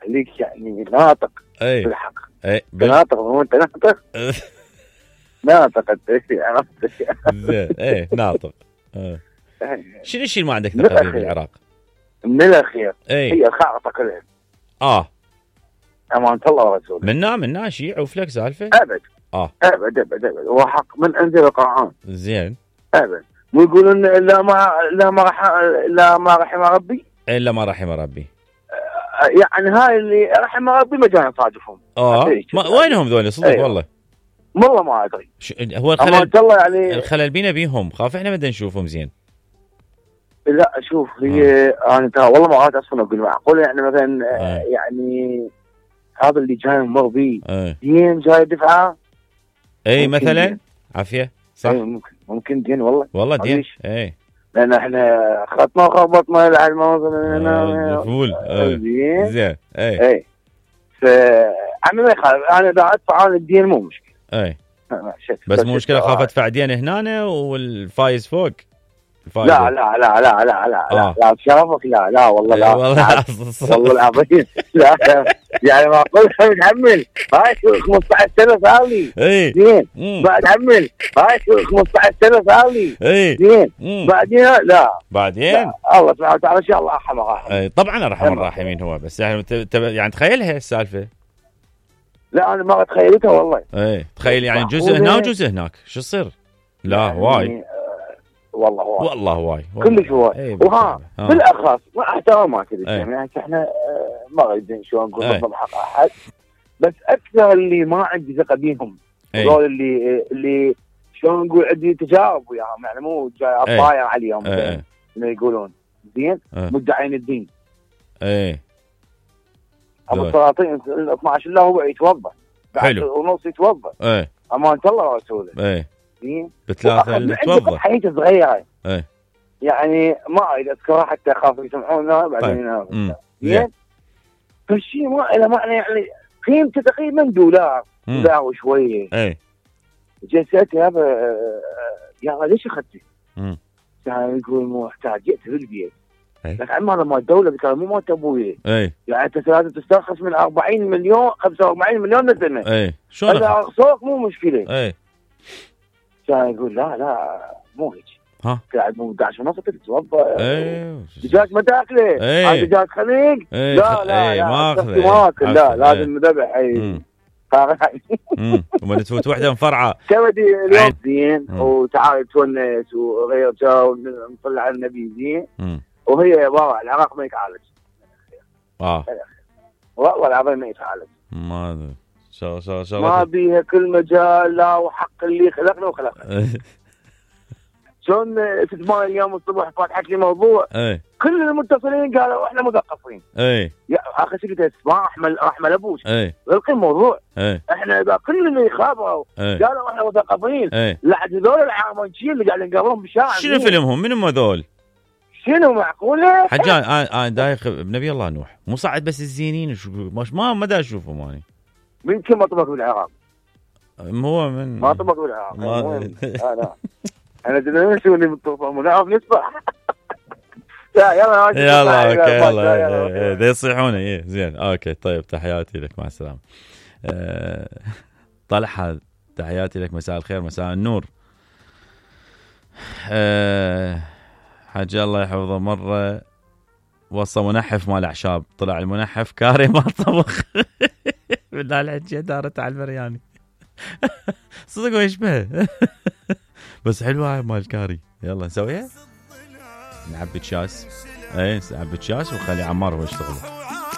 خليك يعني ناطق بالحق. ناطق مو انت ناطق. ناطق انت عرفت. زين ناطق. شنو الشيء اللي ما عندك ثقه فيه بالعراق؟ من الاخير هي الخارطه كلها. أمانة الله ورسوله. منا شيء وفلك سالفه؟ ابد. ابد هو حق من انزل القرآن. زين. ابد. مو يقولون لا ما رحم ربي. الا ما رحم ربي. يعني هاي اللي رحم ربي ما جانا نصادفهم. وينهم ذول صدق؟ والله ما ادري. هو الخلل يعني الخلل بينا بيهم، خاف احنا ما نشوفهم زين. لا شوف هي انا والله ما قاعد اصلا اقول معقول يعني مثلا يعني هذا اللي جاي مر بيه دين جاي دفعه. مثلا عافيه صح. ممكن دين والله دين. لان احنا خطنا وخبطنا العلم فول. زين. انا ما يخالف، انا اذا ادفع عن الدين مو مشكله. بس مو مشكله خاف ادفع دين هنا والفايز فوق. لا بشرفك لا والله لا والله العظيم لا يعني ما اقول متحمل هاي 15 سنه صار لي زين بتحمل هاي 15 سنه صار لي زين بعدين لا الله سبحانه وتعالى ان شاء الله ارحم الراحمين. طبعا ارحم الراحمين هو، بس يعني تخيلها السالفه. لا انا ما تخيلتها والله. تخيل يعني جزء هنا وجزء هناك شو يصير؟ لا يعني واي والله واي كلش هواي. وها بالاخص مع احترامات يعني احنا ما قاعدين شو نقول نضم حق احد، بس اكثر اللي ما عندي ثقه بيهم هذول اللي شلون نقول عندي تجارب وياهم، يعني مو جاي اطاير عليهم انه يقولون زين مدعين الدين. ابو السلاطين 12 الا هو يتوضا بعد ونص يتوضا. امانه الله ورسوله. بثلاثة نتوضا. حياتي صغيرة. يعني ما أريد أذكرها حتى أخاف يسمعونها بعدين. زين. فالشيء ما له معنى، يعني قيمته تقريبا دولار وشوية. جلست يا يا ليش أخذتي؟ يعني يقول مو محتاج جئت في البيت. لكن عمال ما الدولة ذكر مو مات أبوي. يعني أنت لازم تسترخص من 40 مليون 45 مليون لسنة. شو هذا أقصاك مو مشكلة. كان يقول لا مو هيك. قاعد مو 11 ونص تتوضا. دجاج ما تاكله. دجاج خليق. لا ما اخذه. لا لازم ذبح. وما تفوت وحده مفرعه. كودي اليوم زين وتعال تونس وغير جو ونطلع على النبي زين. وهي يا بابا العراق ما يتعالج. والله العظيم ما يتعالج. ما بيها كل مجال. لا وحق اللي خلقنا وخلقنا. شلون 8 يوم الصبح فاتحت لي موضوع. كل المتصلين قالوا احنا مثقفين. يا اخي سكت اسمع احمل ابوش. غلقي الموضوع. احنا اذا كل اللي خابروا قالوا احنا مثقفين. لا هذول العرمانشين اللي قاعدين نقابلهم بالشارع. شنو فيلمهم؟ منهم هذول؟ شنو معقوله؟ حجان انا دايخ بنبي الله نوح مو صعد بس الزينين ما دا اشوفهم اني. من كم مطبخ بالعراق؟ هو من ما طبخ بالعراق. لا انا دنا شو اللي بالطوفه نعرف نسبح. لا يلا اوكي يلا يصيحون. زين اوكي طيب تحياتي لك مع السلامه. طلحه تحياتي لك مساء الخير مساء النور. حاج الله يحفظه مره وصى منحف مال اعشاب طلع المنحف كاري ما طبخ. بالله الحجه دارت على البرياني. صدق ويشبه. بس حلوه مال الكاري. يلا نسويها نعبي تشاس. نعبي تشاس وخلي عمار هو يشتغل.